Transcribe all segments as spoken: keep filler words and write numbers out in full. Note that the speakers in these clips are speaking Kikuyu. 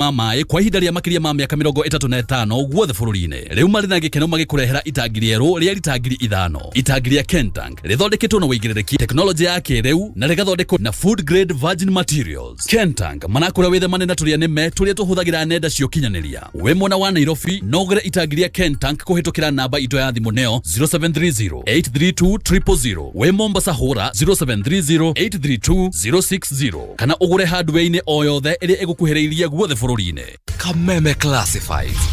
Ma maĩ kwa ihinda rĩa makĩria ma mĩaka mĩrongo ĩtatũ na ĩtano guothe bũrũri-inĩ. Rĩu marĩ na gĩkeno magĩkũrehera itangi rĩerũ rĩa rita ngiri ithano. Itangi rĩa Kentank rĩthondeketwo na wĩigĩrĩrĩki, tekinoronjĩ ya kĩrĩu na rĩgathondekwo na food grade virgin materials. Kentank manakũra wĩthemane na tũrĩa nĩme tũrĩa tũhũthagĩra nenda cia ũkinyanĩria. Wĩ mwena wa Nairobi no ũgũre itangi rĩa Kentank kũhĩtũkĩra namba itũ ya thimũ nĩyo zero seven three zero eight three two triple zero. Wĩ Mombasa hũra zero seven three zero eight three two zero six zero kana ũgũre hardware-inĩ o yothe ĩrĩa ĩgũkuhĩrĩirie guothe bũrũri-inĩ. Kameme Classifieds.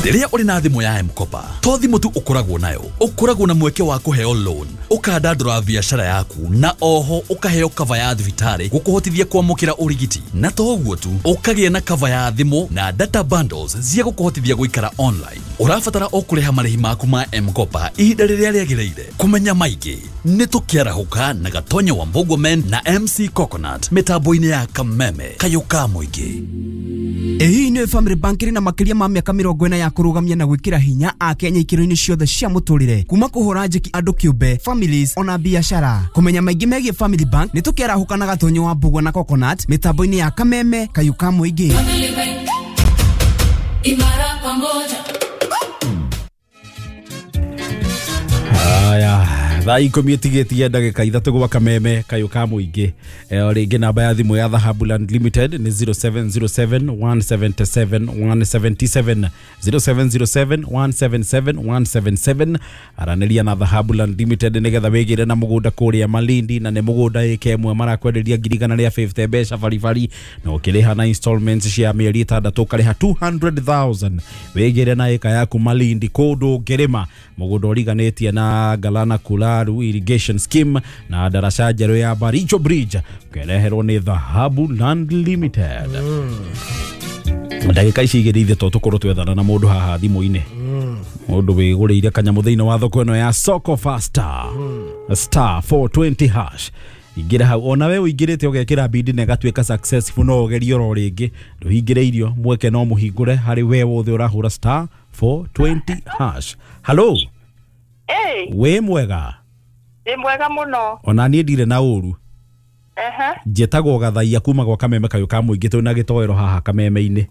Rĩrĩa ũrĩ na thimũ ya M-Kopa, to thimũ tu ũkoragwo nayo, ũkoragwo na mweke wa kũheo loan, ũkandandũra biacara yaku na oho ũkaheo cover ya thibitarĩ gũkũhotithia kwamũkĩra ũrigiti. Na to ũguo tu, ũkagĩa na cover ya thimũ na data bundles cia gũkũhotithia gũikara online. Ũrabatara o kũrĩha marĩhi maku ma M-Kopa ihinda rĩrĩa rĩagĩrĩire. Kũmenya maingĩ nĩ tũkĩarahũka na Gatonya wa Mbogwa Men na M C Coconut mĩtambo-inĩ ya Kameme kayũ ka mũingĩ. Ĩĩ nĩ Family Bank ĩrĩ na makĩria ma mĩaka mĩrongo ĩna ya kũrũgamia na gwĩkĩra hinya Akenya ikĩro-inĩ ciothe cia mũtũrĩre, kuma kũhũra njeki andũ kĩũmbe, families ona biacara. Kũmenya maingĩ megiĩ Family Bank nĩ tũkĩarahũka na Gatonyo wa Mbugua na Coconut mĩtambo-inĩ ya Kameme kayũ ka mũingĩ. Family Bank, imara pamoja. Aya, thaa ikũmi ĩtigĩtie ndagĩka ithatũ gwa Kameme kayũ ka mũingĩ. O rĩngĩ namba ya thimũ ya Dhahabu Land Limited nĩ zero seven zero seven one seven seven one seven seven, zero seven zero seven one seven seven one seven seven. Aranĩria na Dhahabu Land Limited nĩgetha wĩgĩre na mũgũnda kũrĩa Malindi, na nĩ mũgũnda ĩka ĩmwe marakwenderia ngiri igana rĩa fifty mbeca baribari, na ũkĩrĩha na installments cia mĩeri ĩtandatũ ũkarĩha two hundred thousand. Wĩgĩre na ĩka yaku Malindi kũndũ ũngĩrĩma, mũgũnda ũriganĩtie na Galana Kularu Irrigation Scheme na daraca njerũ ya Baricho Bridge, ũkereherwo nĩ Dhahabu Land Limited. Ndagĩka ici igĩrĩ ithe to tũkorwo twethana na mũndũ haha thimũ-inĩ, mũndũ wĩgũrĩire kanyamũ thĩinĩ wa thoko ĩno ya Soko Faster, star four twenty hash. Ingĩra hau ona we ũingĩrĩte ũgekĩra bidi na ĩgatuĩka successful, no ũgerie oro rĩngĩ, ndũhingĩrĩirio mweke no mũhingũre harĩ we wothe ũrahũra star four twenty hash. Hello. Hey. Wĩ mwega? Ndĩ mwega mũno. Ona niĩ ndirĩ na ũru. Ehe. Njĩtagwo Gathaia kuma gwa Kameme kayũ ka mũingĩ, twĩ na gĩtoero haha Kameme-inĩ.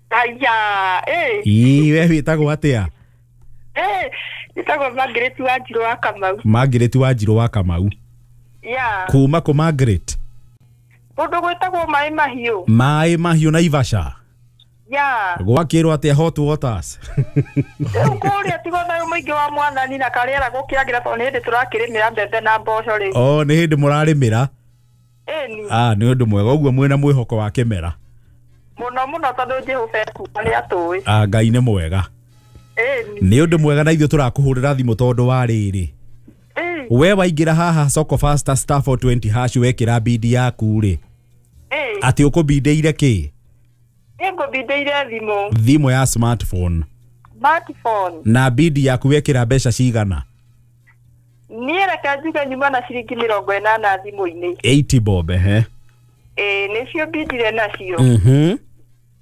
Aya, eh. Ii, we wĩtagwo atĩa? Eh, njĩtagwo Margaret Wanjirũ wa Kamau. Margaret Wanjirũ wa Kamau. Yeah. Kuma kũ Margaret? Kũndũ gwĩtagwo Maĩ Mahiũ. Maĩ Mahiũ Naivasha. Yeah. Gwakĩrwo atĩa hot waters? Rĩu kũrĩa tigo thayũ mũingĩ wa mwathani na karĩera gũkĩagĩra tondũ nĩ hĩndĩ tũrakĩrĩmĩra mbembe na mboco rĩu. Oh, nĩ hĩndĩ mũrarĩmĩra? Ĩni. Ah, nĩ ũndũ mwega ũguo mwĩna mwĩhoko wa kĩmera. Mũno mũno tondũ Jehova ekuga nĩ atũĩ. Ah, Ngai nĩ mwega. Ĩni. Nĩ ũndũ mwega na ithuĩ tũrakũhũrĩra thimũ tondũ wa rĩrĩ. We waingĩra haha Soko Faster star four twenty hash wekĩra bidi yaku rĩ. Atĩ ũkũbindĩire kĩ? Nĩngũbindĩire thimũ. Thimũ ya smartphone. Smartphone. Na bidi yaku wekĩra mbeca cigana? Niĩ reke njuge nyuma na ciringi mĩrongo ĩnana thimũ-inĩ. eighty bob, ehe. Ĩĩ, nĩcio bindire nacio. Mhm.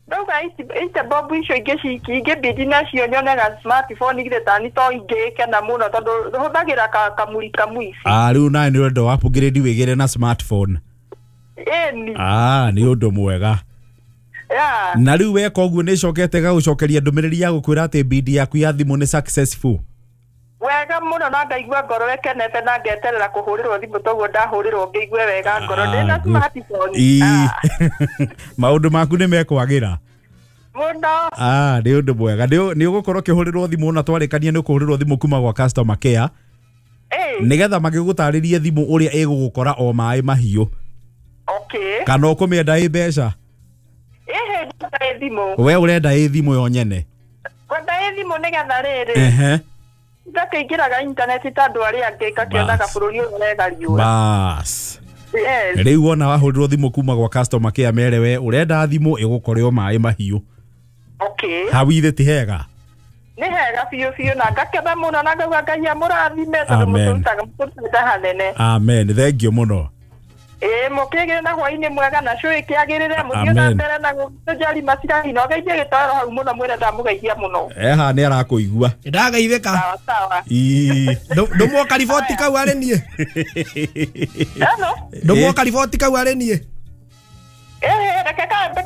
Ndauga eighty bob icio ingĩ ingĩbindi nacio nyonaga smartphone githĩ tani to ingĩkena mũno tondũ hũthagĩra kamuri kamuici. Ah, rĩu nawe nĩ ũrenda upgrade wĩgĩre na smartphone. Ĩni. Ah, nĩ ũndũ mwega. Yeah. Na rĩu weka ũguo nĩ ĩcokete gagũcokeria ndũmĩrĩri ya gũkwĩra atĩ bidi yaku ya thimũ nĩ successful. Wega mũno na ngaigua ngoro ĩkenete na ngeterera kũhũrĩrwo thimũ toguo ndahũrĩrwo ngĩigue wega ngoro ndĩna smartphone. Maũndũ maku nĩ mekwagĩra mũno. Ah, nĩ ũndũ mwega. Nĩ ũgũkorwo ũkĩhũrĩrwo thimũ na twarĩkania nĩ ũkũhũrĩrwo thimũ kuma gwa customer care nĩgetha magĩgũtarĩrie thimũ ũrĩa ĩgũgũkora o maĩ mahiũ. Okay. Kana ũkũmĩenda ĩ mbeca? Ĩhĩ, ndenda ĩ thimũ. We ũrenda ĩ thimũ yo nyene? Ngwenda ĩ thimũ nĩgetha rĩrĩ. Ehe. Ngakĩingĩraga intaneti ta andũ arĩa angĩ ngakĩonaga bũrũri ũyũ wega riũa. Bas. Yes. Rĩu wona wahũrĩrwo thimũ kuma gwa customer care mere we ũrenda thimũ ĩgũkore o maĩ mahiũ. Okay. Hau ithe ti hega? Nĩ hega biũ biũ na ngakena mũno na ngauga Ngai amũrathime tondũ mũtũrutaga mũtũrutĩte hanene. Amen. Thank you mũno. Ĩĩ, mũkĩgĩre na hwaĩ-inĩ mwega na cũĩ kĩagĩrĩre mũthiĩ na mbere na gũtũjari macirahi na ũgeithie gĩtoero hau mũno mwĩre ndamũgeithia mũno. Eha nĩ arakũigua. Ndagaithĩka. Sawa sawa. Ii. Ndũmwo kariboti kau arĩ niĩ. Hello. Ndũmwo kariboti kau arĩ niĩ. Ĩhĩ, Reke kambe.